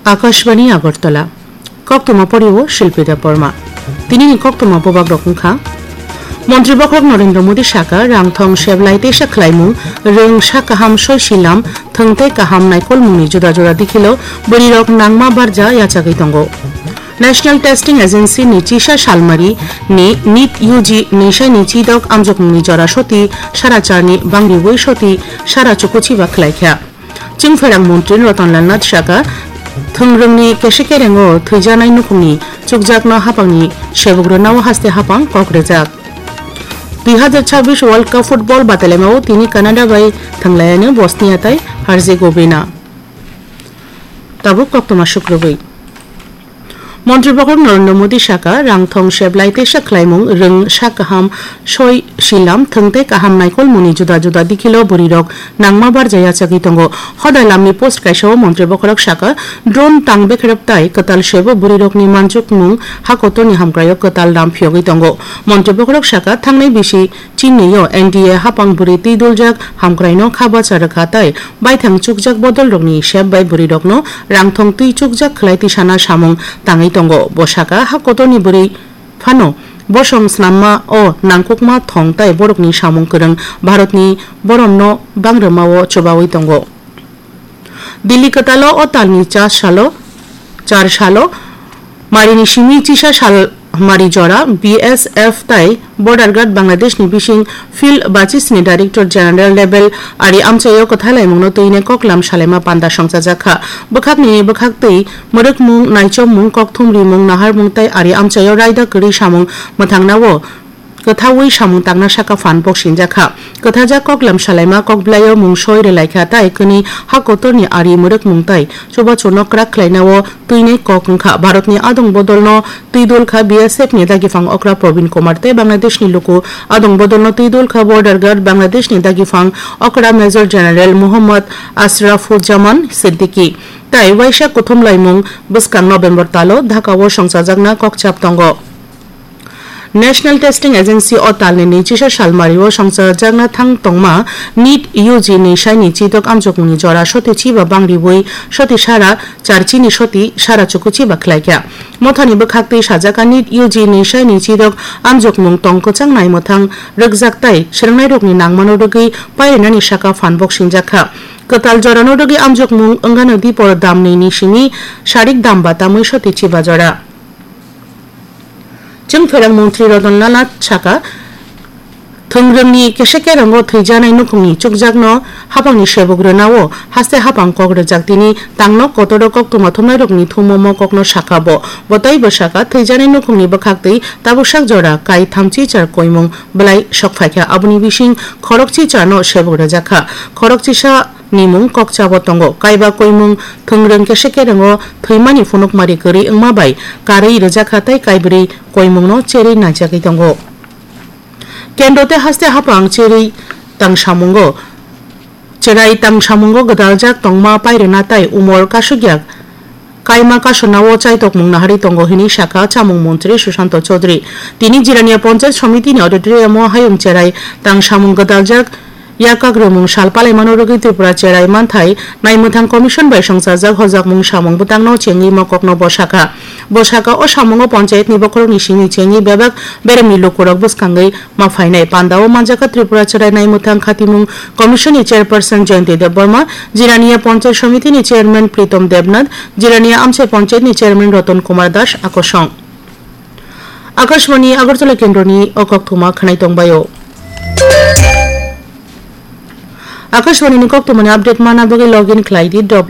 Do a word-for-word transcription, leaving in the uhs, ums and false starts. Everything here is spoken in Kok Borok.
Akashbani Agartala. Koktwma poriwo Shilpi Debbarma. Tinini koktwma bobagrok wngkha. Montri bokhorok Narendra Modi saka, rang thong seblai teisa khlaimung, rwng sak kaham soi silam, thwng tei kaham naikolmungni juda juda dikhilo bwrwirok nangma barja yachagwi tongo. National Testing Agency ni chisa salmari ni NEET U G nwisaini chidok amjokmungni jora soti sara charni bangriwi soti sara chukuchiba khlaikha. Chwngpherang montri Ratan Lal Nath saka, thwngrwngni kese kerengo thwijanai nukhungni chukjakno hapangni sebuk rwnao haste hapang kok rwjak. Dui hazar chabbish World Cup football batailaimao tini Canada bai thwnglayani Bosnia tai Herzegovina. Tabuk koktwma sukrubwi. Montri bokhorok Narendra Modi saka, rang thong seblai teisa khlaimung, rwng sak kaham soi silam, thwng tei kaham naikolmungni juda juda dikhilo bwrwirok nangma barja yachagwi tongo. Hodai lamni post kaisao montri bokhorok saka, drone tang bekrep tai kwtal sebo bwrwirokni manjukmung hakotorni hamkraio kwtal ram phiyogwi tongo. Montri bokhorok saka, thangnai bisi Chinio N D A hapang bwrwi twi duljak hamkraino kha bacha rwkha tai baithang chukjak bodolrokni sep bai bwrwirokno rangthong twi chukjak khlai tisana samung tangwi tongo. Bo saka, ha kotorni bwrwi phano bosong snamma o nangkukma thong tai borokni samung kwrwng Bharatni boromno bangrwmao chubawi tongo. Delhi kwtalo o talni char salo, char salo, marini simi chisa sal mari jora B S F tai Border Guard Bangladesh ni bising Field Basis ni Director General level ari amchaio kwthalaimungno twine koklam salaima panda songchajakha. Bwkhakni bwkhaktwi mwrwkmung, naichomung, kokthum rimung, naharmung tai ari amchaio raida kwrwi samung mwthangnao kwthaui samung tangna saka phan bok sinjakha. Kwthajak koklam salaima kokblaio mungsoi rwlaikha tai kwnwi ha kotorni ari mwrwkmung tai chubachuno kwrak khlainao twinai kok wngkha. Bharatni adong bodolno twi dol kha B S F ni dagifang okra Probin Kumar tei Bangladeshni luku adong bodolno twi dol kha Border Guard Bangladeshni dagifang okra Major General Muhammad Ashrafuzzaman Siddiqui tai waisa kuthum laimung bwskang November talo Dhaka o songchajakna kokchap tongo. National Testing Agency o talni nwichisa salmario songchajakna thang tongma NEET U G ni saini chidok amjokmungni jora soti chiba bangriwi soti sara charchini soti sara chukuchiba khlaikha. Mothani bwkhaktwi sajaka NEET U G ni saini chidok amjokmung tong kwchang naimwthang rwkjak tai swrwngnairokni nangmano rwgwi pairinani saka phan bok sinjakha. Kwtal jorano rwgwi amjokmung wngano dipor dam nwi ni simi sarik dam batamwi soti chiba jora. Chwngpherang montri Ratan Lal Nath saka, thwngrwngni kese kerongo thwijanai nukhungni chukjakno hapangni sebuk rwnao haste hapang kok rwjak tini tangno kotoro koktwma thumnairokni thumo mo kokno sakha bo. Bo teibo saka, thwijanai nukhungni bwkhaktwi tabuksak jora kai thamchi char koimung bwlai sokphaikha, aboni bising khorokchi charno sebuk rwjakha. Khorokchisa nimung kokchabo tongo. Kaiba koimung thwngrwng kese kerongo thwimani phunukmari kwrwi wngma bai karwi rwjakha tei kaibrwi koimungno cherwi naijagwi tongo. Kendro tei haste hapang cherwi tangsamungo, cherai tangsamungo gwdaljak tongma pairwna tai umor kasukya kaima kasunao chaitokmung naharwi tongo hwnwi sakha chamung montri Sushanta Chowdhury. Tini Jirania Panchayat Samiti ni auditorium o hayung cherai tangsamung gwdaljak Yakkak rwmung sal palaimano rwgwi Tripura Cherai Manthai Naimwthang Commission bai songchajak hojakmung samung bwtangno chengwi mokokno bo sakha. Bo sakha, o samungo panchayatni bokhorokni simi chengwi bebak beremni lukurok bwskangwi ma phainai. Pandao manjakha Tripura Cherai Naimwthang Khatimung Commission ni Chairperson Jayanti Debbarma, Jirania Panchayat Samiti ni Chairman Pritom Debnath, Jirania Amchai Panchayat ni Chairman Ratan Kumar Das, akosong. Akashvani Agartala kendroni o koktwma khwnai tongbaio. Akashvani ni koktwmani update mana bagwi login khlai di W